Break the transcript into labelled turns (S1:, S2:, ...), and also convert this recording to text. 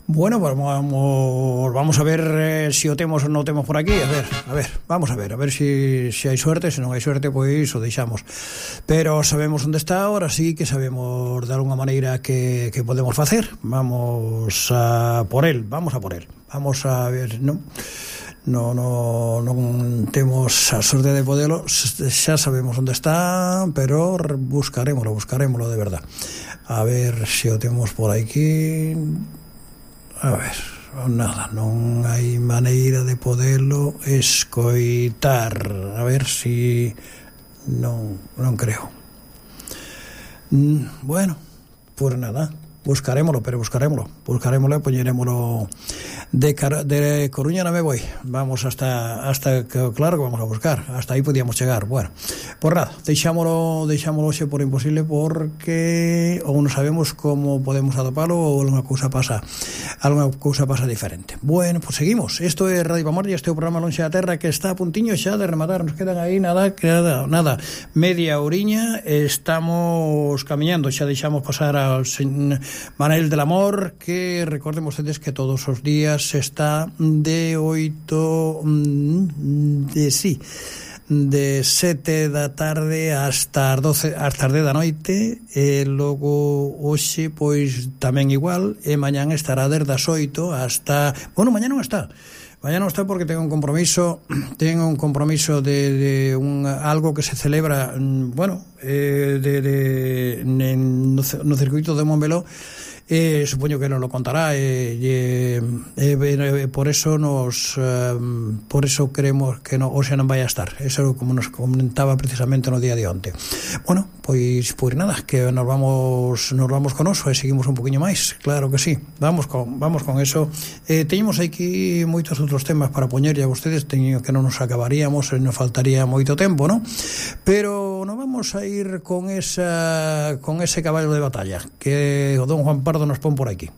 S1: Bueno, pues vamos a ver si o temos ou non temos por aquí. Vamos a ver si hai suerte. Se non hai suerte, pois o deixamos. Pero sabemos onde está ahora, sí que sabemos de alguna maneira que podemos facer. Vamos a por él. Vamos a ver, non temos a sorte de podelo, xa sabemos onde está, pero buscarémolo de verdad. A ver se o temos por aquí. A ver, nada, non hai maneira de podelo escoitar. A ver si non creo. Bueno, pues nada, buscarémolo e poñerémolo de Coruña non me voy. Vamos hasta claro que vamos a buscar. Hasta aí podíamos chegar. Bueno, por nada, deixámolo xe por imposible, porque ou non sabemos como podemos atopalo ou alguna cousa pasa diferente. Bueno, pues seguimos. Isto é Radio Pamorlla, este é o programa Lonxe da Terra, que está a puntiño xa de rematar. Nos quedan aí nada, media horiña. Estamos camiñando, xa deixamos pasar ao Manel del Amor, que recorden vostedes que todos os días está de 7 da tarde hasta as 10 da noite, e logo hoxe pois tamén igual, e mañán estará desde as 8 hasta... Bueno, mañán non está porque tengo un compromiso de algo que se celebra, no circuito de Montmeló. Supoño que nos lo contará, por eso creemos que hoxe non vai a estar. Eso como nos comentaba precisamente no día de onte. Bueno, pois nada, que nos vamos con oso e seguimos un poquinho máis, claro que sí. Vamos con eso. Teñemos aquí moitos outros temas para poñerlle a vostedes, teño que non nos acabaríamos, nos faltaría moito tempo, ¿no? Pero nos vamos a ir con ese caballo de batalla que o don Juan Pardo nos pon por aquí.